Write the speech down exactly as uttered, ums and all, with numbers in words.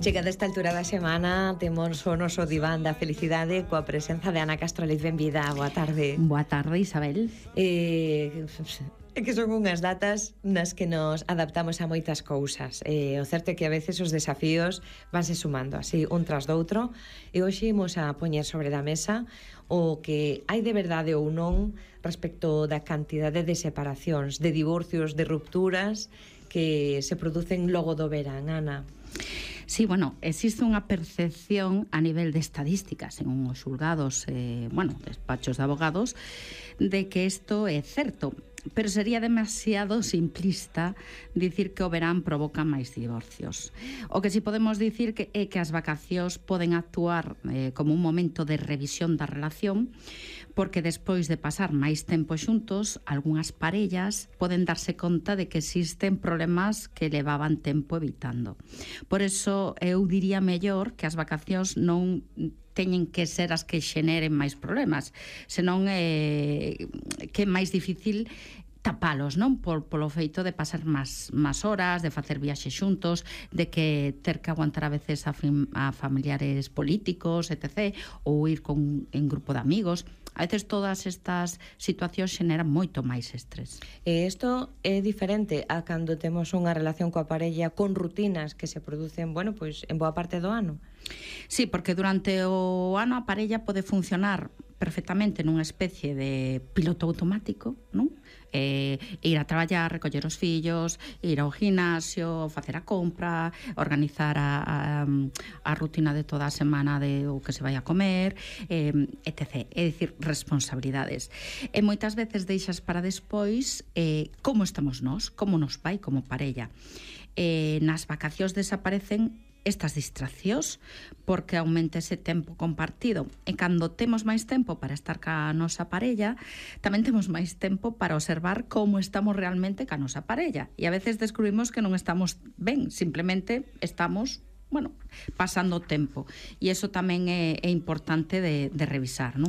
Chegada esta altura da semana, temos o noso diván da felicidade coa presenza de Ana Castro Leiz. Benvida, boa tarde. Boa tarde, Isabel. Eh, é que son unhas datas nas que nos adaptamos a moitas cousas. Eh, o certo é que a veces os desafíos vanse sumando así, un tras doutro, e hoxe imos a poñer sobre da mesa o que hai de verdade ou non respecto da cantidade de separacións, de divorcios, de rupturas que se producen logo do verán, Ana. Sí, bueno, existe unha percepción a nivel de estadísticas en uns xulgados, eh, bueno, despachos de abogados, de que isto é certo, pero sería demasiado simplista dicir que o verán provoca máis divorcios. O que si podemos dicir que é que as vacacións poden actuar eh, como un momento de revisión da relación, porque despois de pasar máis tempo xuntos, algunhas parellas poden darse conta de que existen problemas que levaban tempo evitando. Por eso, eu diría mellor que as vacacións non teñen que ser as que xeneren máis problemas, senón eh, que é máis difícil tapalos, non? Por, polo feito de pasar máis, máis horas, de facer viaxes xuntos, de que ter que aguantar a veces a, fam a familiares políticos, etcétera, ou ir con, en grupo de amigos. A veces todas estas situacións xeneran moito máis estrés. E isto é diferente a cando temos unha relación coa parella con rutinas que se producen, bueno, pois en boa parte do ano. Sí, porque durante o ano a parella pode funcionar perfectamente nunha especie de piloto automático, non? Eh, ir a traballar, recoller os fillos, ir ao gimnasio, facer a compra, organizar a, a, a rutina de toda a semana de o que se vai a comer, eh, etcétera. É dicir, responsabilidades. E moitas veces deixas para despois eh, como estamos nós, como nos vai como parella. Eh, nas vacacións desaparecen estas distraccións porque aumenta ese tempo compartido, e cando temos máis tempo para estar ca nosa parella, tamén temos máis tempo para observar como estamos realmente ca nosa parella, e a veces descubrimos que non estamos ben, simplemente estamos, bueno, pasando tempo, e iso tamén é, é importante de, de revisar, non?